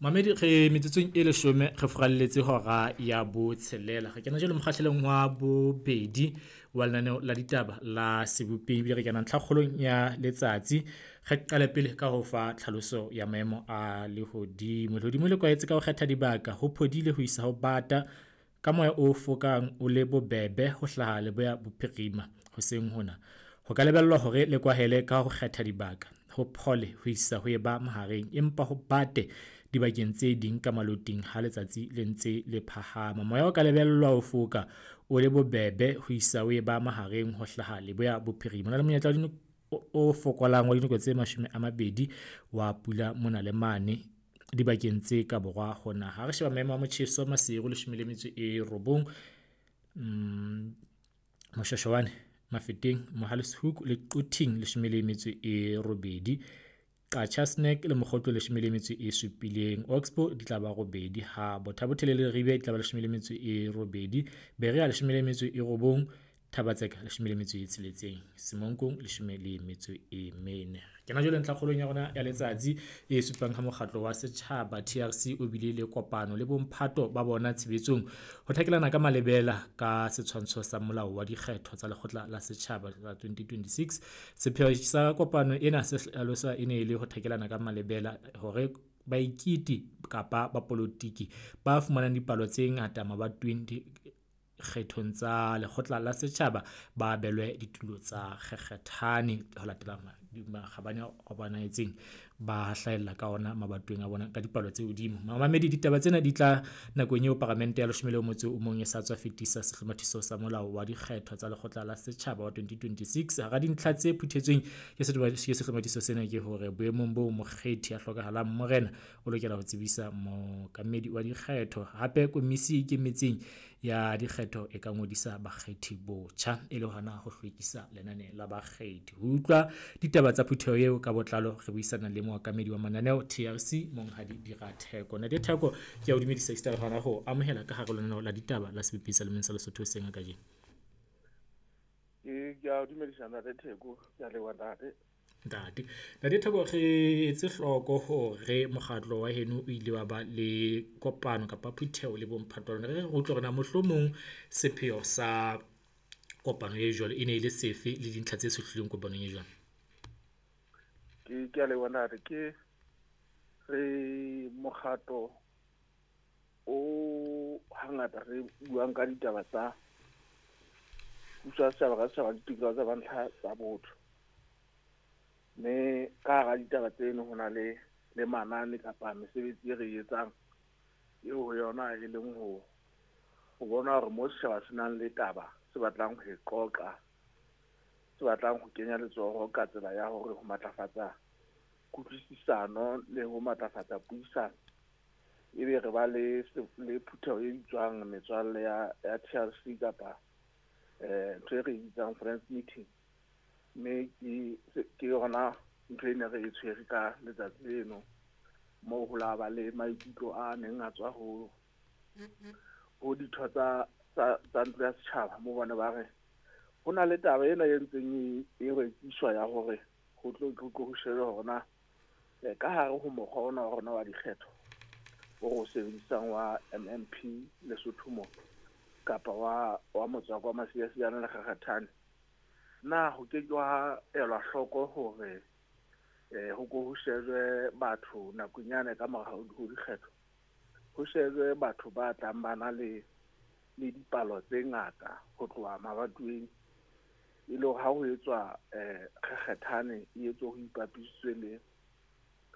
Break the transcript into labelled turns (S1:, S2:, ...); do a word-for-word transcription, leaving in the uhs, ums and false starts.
S1: Mamedi re metsotsong e leshome re furalletse hora ya botshelela. Re kena jwale mokgahlelong wa bobedi wa lenaneo la ditaba la sebopeng ebile re kena ntlhakgolong ya letsatsi. Re qale pele ka ho fa tlhaloso ya maemo a lehodimo. Lehodimo le kwahetse ka ho kgetha dibaka, ho phodile ho isa ho bata ka moya o fokang o le bobebe ho hlaha leboya bophirima hoseng hona. Ho ka lebellwa hore le kwahele ka ho kgetha dibaka, ho phole ho isa ho eba mahareng empa ho bate dibakeng tse ding ka maloting ha letsatsi le ntse le phahama. Moya o ka lebellwa ho foka o le bobebe ho isa ho eba mahareng ho hlaha leboya bophirima. Ho na le monyetla wa o fokolang wa dinako tse mashome a mabedi wa pula mona le mane dibakeng tse ka borwa ho naha. Ha re sheba maemo a motjheso Maseru leshome le metso e robong, Moshweshwane, Mafeteng, Mohale's Hoek le Quthing leshome le metso e robedi. Qacha's Nek le Mokgotlo leshome le metso e supileng. Oxbow di tla ba robedi ha Botha Bothe le Leribe di tla ba leshome le metso e robedi. Berea leshome le metso e robong. Thaba-Tseka leshome le metso e tsheletseng. Semonkong leshome le metso e mene. Kena jwale ntlhakgolong ya rona ya letsatsi e supang ha mokgatlo wa setjhaba T R C o bile le kopano le bomphato ba bona tshebetsong ho thakelana ka malebela ka setshwantsho sa molao wa dikgetho tsa lekgotla la setjhaba la twenty twenty-six. Sepheo sa kopano ena se hlaloswa e ne e le ho thakelana ka malebela hore baikiti kapa bapolotiki ba fumanang dipalo tse ngata mabatoweng kgethong tsa lekgotla la setjhaba ba abelwe ditulo tsa kgekgethane ho latela makgabane a bonahetseng ba hlahella ka ona mabatoweng a bona ka dipalo tse hodimo. Mamamedi, ditaba tsena di tla nakong eo paramente ya leshome le motso o mong e sa tswa fetisa sehlomathiso sa molao wa dikgetho tsa lekgotla la setjhaba wa twenty twenty-six. Hara dintlha tse phuthetsweng ke sehlomathiso sena ke hore boemong boo mokgethi a hlokahalang morena o lokela ho tsebisa mookamedi wa dikgetho. Hape komisi e ikemetseng ya dikgetho e ka ngodisa bakgethi botjha e le hona ho hlwekisa lenane la bakgethi. Ho utlwa ditaba tsa phutheho eo ka botlalo re buisana le mookamedi wa mananeo T R C Monghadi Dira Theko. Ntate Theko, ke a o dumedisa esita le hona ho amohela ka hare lenaneo la ditaba la Sebopeng sa Lemeng sa Lesotho hoseng ha kajeno.
S2: Ke a o dumedisa Ntate Theko, ke a leboha ntate.
S1: Ntate, Ntate Theko, re etse hloko hore mokgatlo wa heno o ile wa ba le kopano kapa phutheho le bomphato wa lona. Re re utlwe hore na mohlomong sepheo sa kopano e jwalo e ne e le sefe le dintlha tse tshohlilweng kopanong e jwalo.
S2: Ke ke a leboha ntate. Ke re mokgatlo o hangata re buang ka ditaba tsa puso ya setjhaba ka setjhaba le ditokelo tsa bantlha tsa botho. Mme ka hara ditaba tseno ho na le le manane kapa mesebetsi e re e etsang eo ho yona e leng ho ho bona hore mo setjhaba se nang le taba se batlang ho e qoqa, se batlang ho kenya letsoho ka tsela ya hore ho matlafatsa kutlwisisano le ho matlafatsa puisano. Ebe re ba le le phutheho e bitswang metswalle ya ya T R C kapa eh ntho e re bitsang friends meeting. Mme ke ke yona ntho e ne re e tshwere ka letsatsi leno moo ho la ba le maikutlo a neng a tswa ho ho ditho tsa tsa tsa ntlo ya setjhaba moo bana ba re ho na le taba ena e ntseng e e rekiswa ya hore ho tlo tlo ho shejwe hore na ka hare ho mokgwa ona wa rona wa dikgetho o re o sebedisang wa M M P Lesotho mo kapa wa wa motswako wa Masiasiane le Kgakgathane, na ho ke ke wa elwa hloko hore eh ho ko ho shejwe batho nakong yane ka mora ho dikgetho, ho shejwe batho ba tlang ba na le le dipalo tse ngata ho tloha mabatoweng e le hore ha ho etswa eh kgekgethane e etswe ho ipapisitswe le